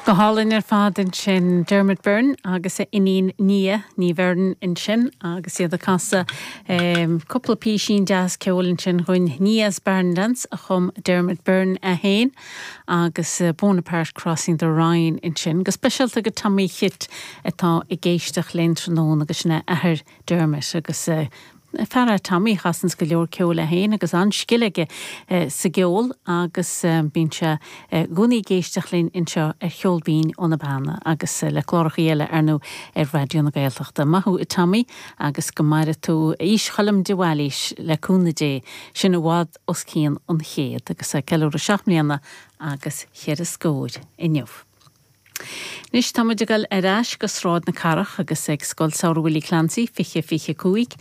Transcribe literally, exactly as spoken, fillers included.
Go hálainn ar fad ansin Dermot Byrne agus a iníon Nia Ní Bheirn ansin agus iad ag casadh um, cúpla píosín deas ceoil ansin chun Nia's Barn Dance a chum Dermot Byrne é féin agus uh, Bonaparte Crossing the Rhine ansin, go speisialta go Tommy Chit atá ag éisteacht linn tráthnóna agus sin é athair Dermot agus uh, fear é Tommy a chasanns go leor ceoil é féin agus an-scil aige eh, sa gceol agus eh, bíonn sé eh, i gcónaí ag éisteacht linn anseo ar Cheol Binn ó na Beanna agus le cláracha eile ar nó ar Raidió na Gaeltachta. Maith thú Tommy agus go maire tú aois Choilm de Bhailís le cúnamh Dé sin i bhfad os cionn an chéad agus é ceiliúradh seacht mbliana agus cheithre scór inniu. Anois táimid ag dul ar ais go Sráid na Cathrach agus ag Scoil Samhraidh Willie Clancy fiche fiche cúig